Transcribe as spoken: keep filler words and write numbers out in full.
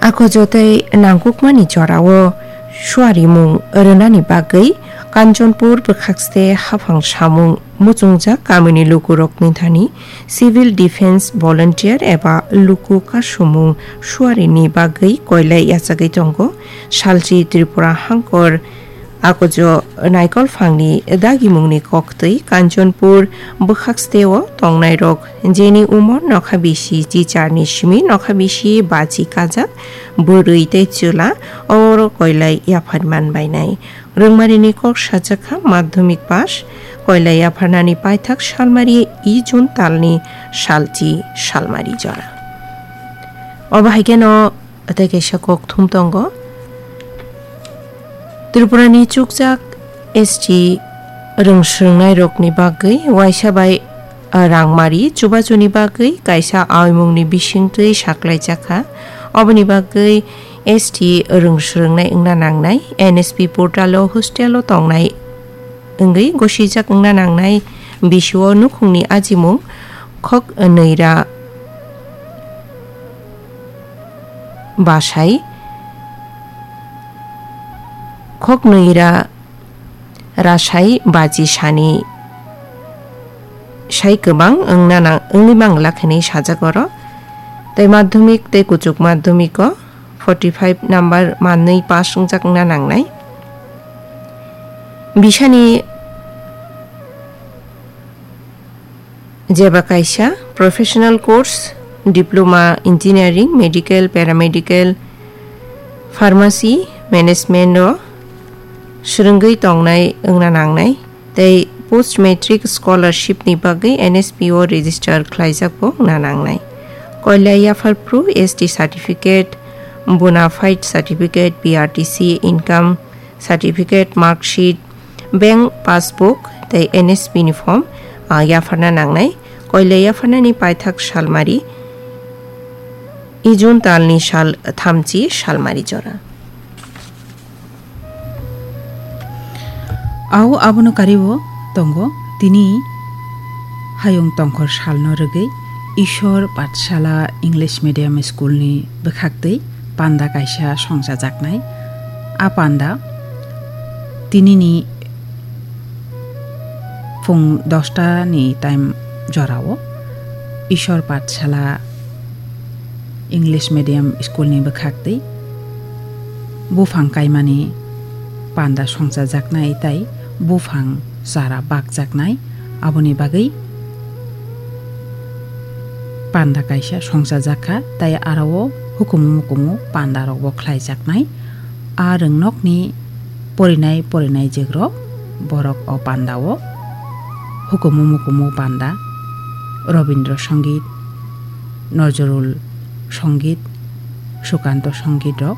Akojo tei nangkukmani jorao suarimung rwnani bagwi Kanchanpur bwkhakste haphang samung muchungjak kamini lukurokni thani Civil Defence Volunteer eba luku kasumung suarini bagwi koilai yachagwi tongo. Salchi Tripura hangkor akojo naikolphangni dagimungni koktwi Kanchanpur bwkhaksteo tongnairok jeni umor nokha bisi chicharni simi nokha bisi bachi kajak bwrwi tei chwla oro koilai yaphar manbainai. Rwngmarini kok sajakha madhyamik pass koilai yapharnani paithak salmari i June talni salchi salmari jora. Obo hai kheno tei kaisa kok thum tongo. Tripurani chukjak S T rwngsrwngnairokni bagwi waisa bai rangmari chubachuni bagwi kaisa aimungni bisingtwi saklaijakha. Oboni bagwi S T rwngsrwngnai wngna nangnai, N S P portalo hostelo tongnai wngwi gosijak wngna nangnai bisio nukhungni ajimung khok nwi ra basai, khok nwi ra rasai baji sani sai kwbang wngna nang-, wngwi mangla khenwi sajak oro. Tei madhyamik tei kuchuk madhyamiko forty five number manwi pass wngjak wngna nangnai. Bisani jeba kaisa professional course, diploma, engineering, medical, paramedical, pharmacy, management o swrwngwi tongnai wngna nangnai, tei post matric scholarship ni bagwi N S P o register khlaijak bo wngna nangnai. Koilai yaphar phru S T certificate, bona fide certificate, P R T C income certificate, mark sheet, bank passbook tei N S P ni form, ah, yapharna nangnai. Koilai yapharnani paithak salmari i June talni sal thamchi salmari jora. Au abono kariwo tongo tini hayung tongkhor salno rwgwi Ishwar Pathshala English Medium School ni bwkhaktwi panda kaisa songchajaknai. A panda tinini phung dosta ni time jorao Ishwar Pathshala English Medium School ni bwkhaktwi buphang kaimani panda songchajaknai tei buphang chara bakjaknai, aboni bagwi panda kaisa songchajakha tei aro o hukumu mukumu panda rokbo khlaijaknai. A rwngnokni porinai porinai jegrok borok o panda o hukumu mukumu panda, Robindra Songit, Nojrul Songit, Sukanto Songit rok